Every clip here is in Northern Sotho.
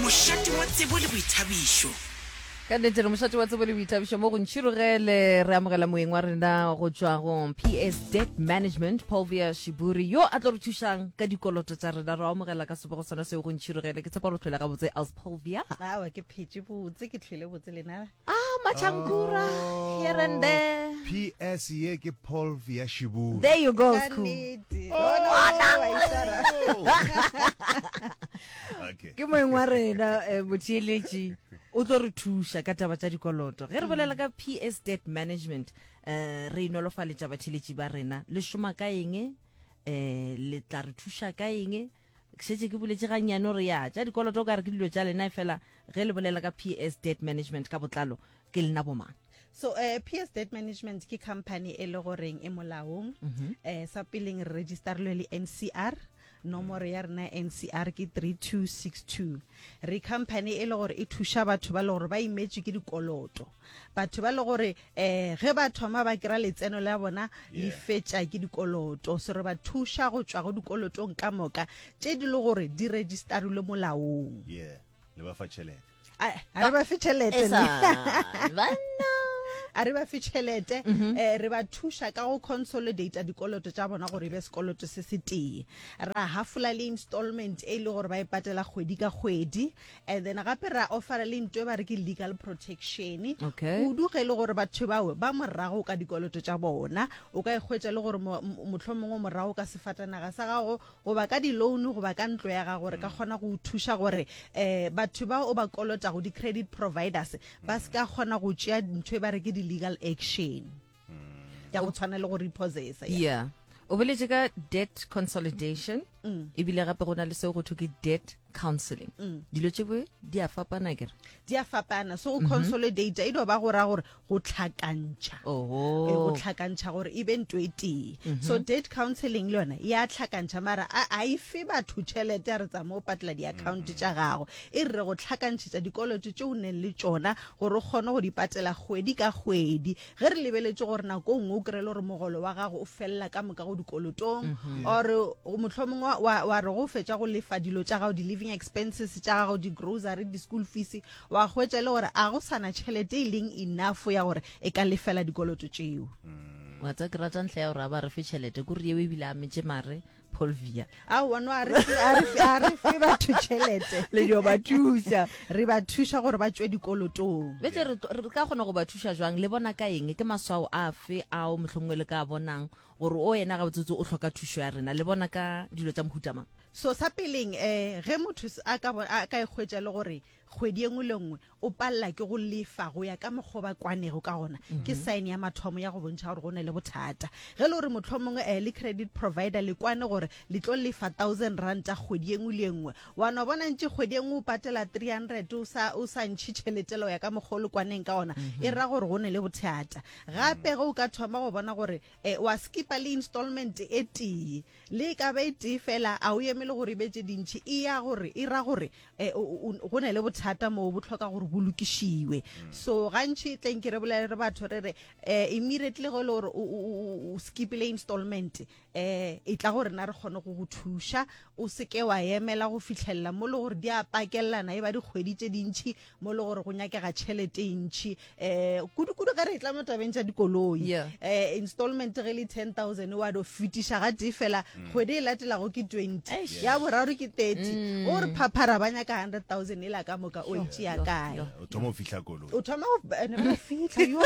Mošate wa tsebo le boithabišo. Ka nnete re mošate wa tsebo le boithabišo mo go Ntšhirogele. Re amogela moeng wa rena go tšwa go PS Debt Management, Paulvia Shiburi, yo a tlo re thušang ka dikoloto tša rena. Re amogela ka sebego sona seo go Ntšhirogele. Ke tshepa gore o hlwele gabotse, Els Paulvia. Awa, ke phetše botse, ke hlwele botse lena. Ah, Machankura, here and there. PS ye ke Paulvia Shiburi. There you go, Ka Skhoo. nnete. Bona, wa itshwara. Okay. Ke moeng wa rena eh, motheeletši o tlo re thuša ka taba tša dikoloto. Ge re bolela ka PS Debt Management, eh, re inolofaletša batheeletši ba rena. Le šoma ka eng? Eh, le tla re thuša ka eng? Ke šetše ke boletše gannyane gore ya tša dikoloto o ka re ke dilo tša lena, efela ge le bolela ka PS Debt Management ka botlalo ke lena bomang? So eh, PS Debt Management ke company e le goreng e molaong. Mm -hmm. eh, sa peleng re registerilwe le NCR, nomoro ya rena ya NCR ke 3262. Re company e le gore e thuša batho ba le gore ba imetšwe ke dikoloto. Batho ba le gore um ge ba thoma ba kry-a letseno la bona le fetša ke dikoloto. So re ba thuša go tšwa go dikolotong ka moka tše di le gore di registerilwe molaong. Yeah, le ba fa tšhelete. A re ba fe tšhelete. Banna. A re ba fe tšhelete, um re ba thuša ka go consolidate dikoloto tša bona gore e be sekoloto se se tee. Ra hafola le installment e le gore ba e patela kgwedi ka kgwedi. And then gape ra offera le nto e ba re ke legal protection. Okay. Kudu ge e le gore batho bao ba morago ka dikoloto tša bona. O ka ikgwetša le gore mohlomongwe morago ka sefatanaga sa gago goba ka di-loan goba ka ntlo ya gago, re ka kgona go thuša gore um batho bao o ba kolotago, di-credit providers, ba se ka kgona go tšea ntho e ba re ke di-legal action ya go tshwana le go repossessa. Yeah. O boletše ka debt consolidation, ebile gape go na le seo go thwe ke debt counseling. Dilo tše boe di a fapana kere? Di a fapana. So go consolidate e do ba go ra gore go tlhakantšha. Oho. Go tlhakantšha gore e be nto e tee. So debt counseling le yona ya tlhakantšha, mara a e fe batho tšhelete ya re tsama o patela di-account tša gago. E re go tlhakantšhetša dikoloto tše o neng le tšona gore o kgone go di patela kgwedi ka kgwedi. Ge re lebeletše gore nako nngwe o kry-e le gore mogolo wa gago o felela ka moka go dikolotong, or mohlomongwe wa, wa re go fetša go lefa dilo tša gago, di-living expenses tša gago, di-grocery, di-school fees, wa hwetša e le gore a go sa na tšhelete e leng enough ya gore e ka lefela dikoloto tšeo. Wa tseba ke rata ntlha ya gore a ba re fe tšhelete, kore yeo ebile a metše mare Polvia. Aowa, no, a re fe, a re fe, a re fe batho tšhelete. Le dio ba thuša. Re ba thuša gore ba tšwe dikolotong. Bjale re, re ka kgona go ba thuša jwang? Le bona ka eng? Ke maswao afe ao mohlomongwe le ka a bonang gore o yena gabotsebotse o hloka thušo ya rena? Le bona ka dilo tša mohuta mang? So sa peleng, eh, ge motho a ka, a ka ikgwetša le gore kgwedi e nngwe le nngwe o palela ke go lefa go ya ka mokgwa o ba kwanego ka gona, ke sign ya mathomo ya go bontšha gore go na le bothata. Ge e le gore mohlomongwe eh, le credit provider le kwane gore le tlo lefa thousand ranta kgwedi e nngwe le e nngwe, wa no bona ntše kgwedi e nngwe o patela 300 o sa, o sa ntšhe tšhelete le go ya ka mokgwa o le kwaneng ka gona, e ra gore go na le bothata. Gape ge o ka thoma go bona gore eh, wa skipa le installment e tee, le e ka ba e tee fela, a o emele gore e be tše dintši, e ya gore, e ra gore eh, go na le bothata moo bo hloka gore bo lokišiwe. So gantši tleng ke re bolele re batho re re eh, immediately ge e le gore o skipile installment, eh, e tla gore na re kgone go go thuša. O se ke wa emela go fihlelela mo le gore di a pakelelana e ba dikgwedi tše dintši mo le gore go nyakega tšhelete e ntši, um kudu-kudu ge re e tla mo tabeng tša dikoloi. Yeah. Um installment ge le 10,000 wa do fetiša ga tee fela, kgwedi e latelago ke 20, Eish. ya boraro ke 30, o re phaphara ba nyaka 100,000 e la ka moka o e tšea kae? O thoma go fihla koloi. O thoma go ene ba fihla yo.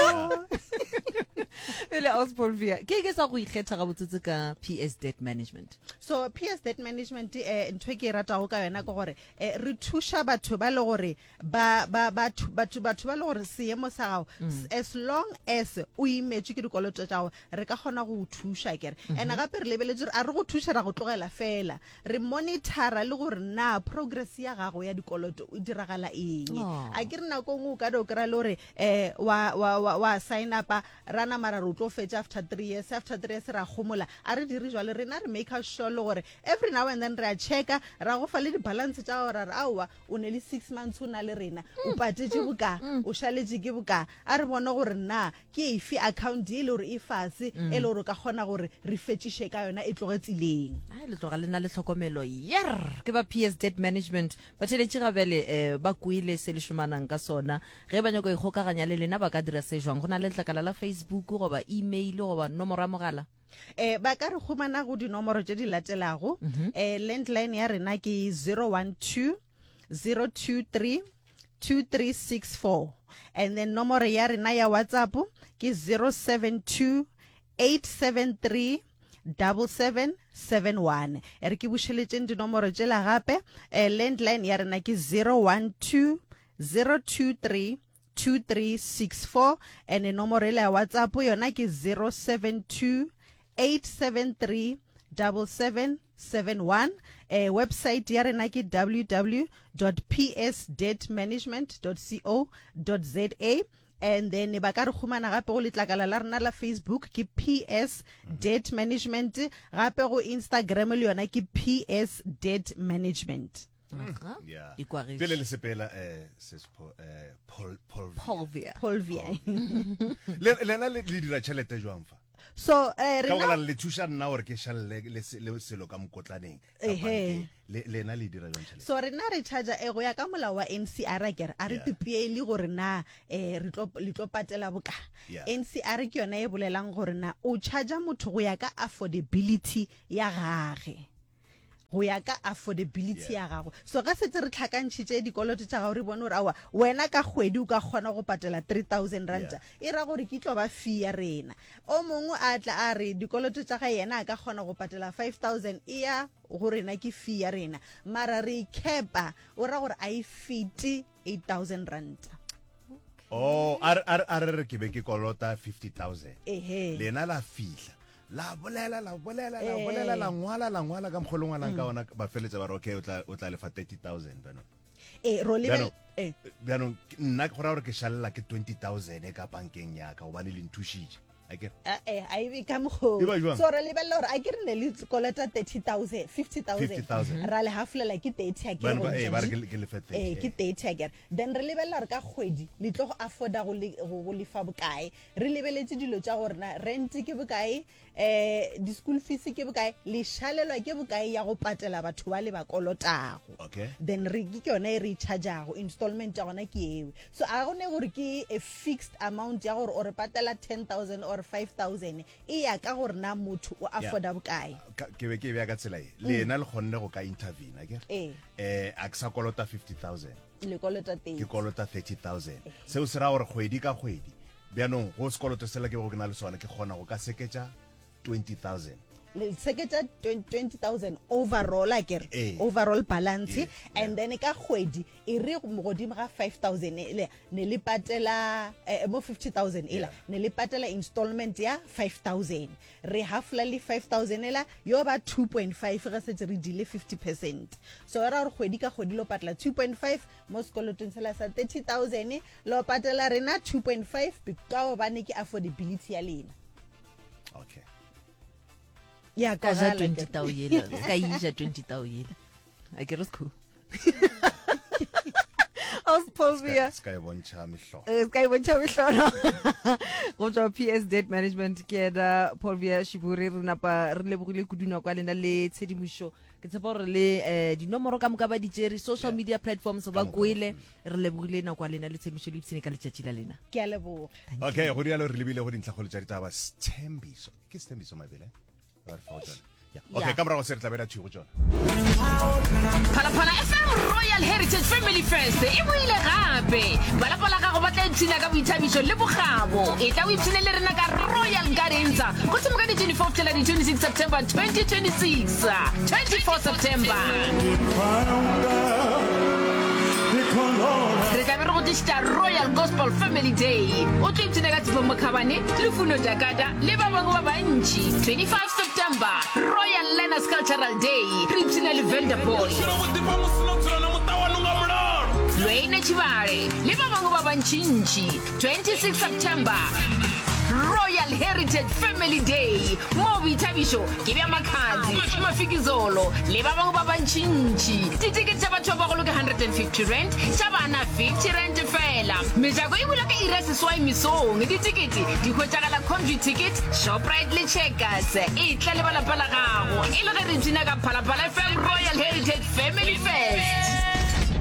Pele Osborne, ke ke sa go ikgetha gabotsotse ka PS Debt Management. So PS Debt Management eh ntho e ke e ratago ka yona ke gore eh re thuša batho ba le gore ba ba batho batho batho ba le gore seemo sa gago mm. as long as o imetšwe ke dikoloto tša gago re ka kgona go o thuša kere mm -hmm. and gape re lebeletše a re go thuša ra go tlogela fela re monitora le gore na progress ya gago ya dikoloto o diragala eng oh. a ke re nako nngwe o ka do kry-a le gore um wa, wa, wa, wa sign upa ra nama ra re o tlo fetša after three years after three years ra gomola a re dire jalo rena re make sure le gore every now and then re a checka ra go fa le di-balance tša gago ra re aowa o ne le six months o na le rena o patetše boka o šaletše ke boka a re bone gore na ke efe account e le gore e fase e le gore o ka kgona gore re fetšiše ka yona e tloge tseleng. Ai, le tloga le na le tlhokomelo. tlhokomelo yer ke ba PS Debt Management batheletši ga bjale um ba kwele se le šomanang ka sona ge ba nyako ikgokaganya le lena ba ka dira se jwang go na le letlakala la Facebook goba email goba nomoro ya mogala Eh, ba ka re humana go dinomoro tše di latelago. Mm -hmm. eh, landline ya rena ke 012 023 2364 and then nomoro ya rena ya WhatsApp ke 072 873 7771. E re ke bušeletšeng dinomoro tšela gape. Eh, landline ya rena ke 012 023 2364 and nomoro ela ya WhatsApp yona ke 072 873 7771. Eh, website ya rena ke www.psdebtmanagement.co.za and then ba ka re humana gape go letlakala la rena la Facebook ke PS Debt Management, gape go Instagram le yona ke PS Debt Management. Aha. Yeah. E kwagetše. Pele le sepela eh sis Paul eh Paul Paul Paulvia. Paulvia. Le lena le le dira tšhelete jwang fa? So eh Ka rena gobane le thuša nna gore ke šalele le se- le selo ka mokotlaneng. ka Ehe. bankeng. Le lena le dira jwang tšhelete? So rena re charger eh go ya ka molao wa NCR akere a re Yeah. tipeele gore na eh re tlo le tlo patela boka. Yeah. NCR ke yona e bolelang gore na o charger motho go ya ka affordability ya gage. Go ya ka affordability ya gago. So ge setse re tlhakantšhitše dikoloto tša gago re bone gore aowa wena ka kgwedi o ka kgona go patela 3000 ranta, e ra gore ke tlo ba fee ya rena. O mongwe a tla a re dikoloto tša gae yena a ka kgona go patela 5000, e ya go rena ke fee ya rena. Mara re e cap-a, o ra gore a e fete 8000 ranta. Oh, a re a re re ke be ke kolota 50000. Ehe. Lena la fihla. La bolela, la bolela, la bolela, la ngwala, la ngwala ka mokgwa o le ngwalang ka ona, ba feletsa ba re okay, o tla o tla lefa 30000 bjanong. Ee, ro lebel Bjanong, eh. bjanong nna go raya gore ke šalela ke 20000 ka bankeng ya ka gobane le nthušitše. Akere? Eh, a e be ka mokgwa E ba jwang? So re lebelela gore a ke re ne le kolota 30000, 50000. 50,000. Ra le hafolela ke 30 a ke Bjano ba- eh, ba re ke le- ke lefe 30, Eh, ke eh. 30 a kere. Then re lebelela gore ka kgwedi le tlo go afforda go le- go go lefa bokae. Re lebeletše dilo tša gore na rent ke bokae, um di-school fees ke bokae, le šalelwa ke bokae ya go patela batho ba le ba kolotago. Okay. Then re ke yona e re e charge-ago, installment ya gona ke eo. So a go ne gore ke a fixed amount ya gore o re patela 10,000 or 5,000, e ya ka gore na motho o afforda bokae. Ka, ke be ke e beya ka tsela ye. Lena le kgonne go ka intervene, akere? Ee. Eh, a ke sa kolota 50,000. Le kolota 30. Ke kolota 30,000. Seo se ra gore kgwedi ka kgwedi, bjanong go sekoloto sela ke bego ke na le sona, ke kgona go ka seketša 20,000. Le seketša 20,000 overall, akere? Ee. Overall balance. Ee, And then ka kgwedi e re godimo ga 5,000 ele, ne le patela, eh, mo 50,000 ela, Yeah. ne le patela installment ya 5,000. Re hafola le 5,000 ela, yo ba 2.5 ge setse re dile 50%. So e ra gore kgwedi ka kgwedi lo patela 2.5 mo sekolotong sela sa 30,000, lo patela rena 2.5 ka gobane ke affordability ya lena. Okay. Ya Ka ja kwagala 20 ke. tau yela. Ka ija 20 tau yela. A ke re sekhu. Ospovia. Se ka e bontšha mehlolo. Eh, se ka e bontšha mehlolo. Go tswa PS Debt Management ke yena Paulvia Shiburi, re napa re lebogile kudu nako ya lena le tshedimošo. Ke tshepa gore le eh, dinomoro ka moka ba di tšere, social media platforms ba Ka moka. kwele. Re lebogile nako ya lena le tshedimošo le ipshine ka letšatši la lena. Ke a leboga. Okay, go rialo re lebile go dintlhakgolo tša ditaba. Sthembiso. Ke Sthembiso Mabele? Ba re fa go tšona. Yeah. Okay, Yeah. ka morago se re tla bela thwi go tšona. Phalaphala FM Royal Heritage Family Fest e boile gape. Ba lapa la gago ba tla ipshina ka boithabišo le bokgabo. Etla o ipshine le rena ka Royal Gardens go thoma ka di 24 go fihlela di 26 September 2026. 24 September. Re tla be re go tlišetša Royal Gospel Family Day. O tlo ipshina ka Tshepo Mokhabane, Lufuno Jakada le ba bangwe ba bantši. 25 September, Royal Learners Cultural Day. Re ipshina le Vanderboy, Lwene Tshibale le ba bangwe ba bantšintši. 26 September, Royal Heritage Family Day, moo boithabišo ke bja Makhadzi, Mafikizolo le ba bangwe ba bantšintši. Ditekete tša batho ba bagolo ke R150, tša bana R50 feela. Mejako e bula ka iri ya seswai mesong. Ditekete di hwetšagala Computicket, Shoprite le Checkers. Etla le ba lapa la gago e le ge re ipshina ka Phalaphala FM Royal Heritage Family Fest.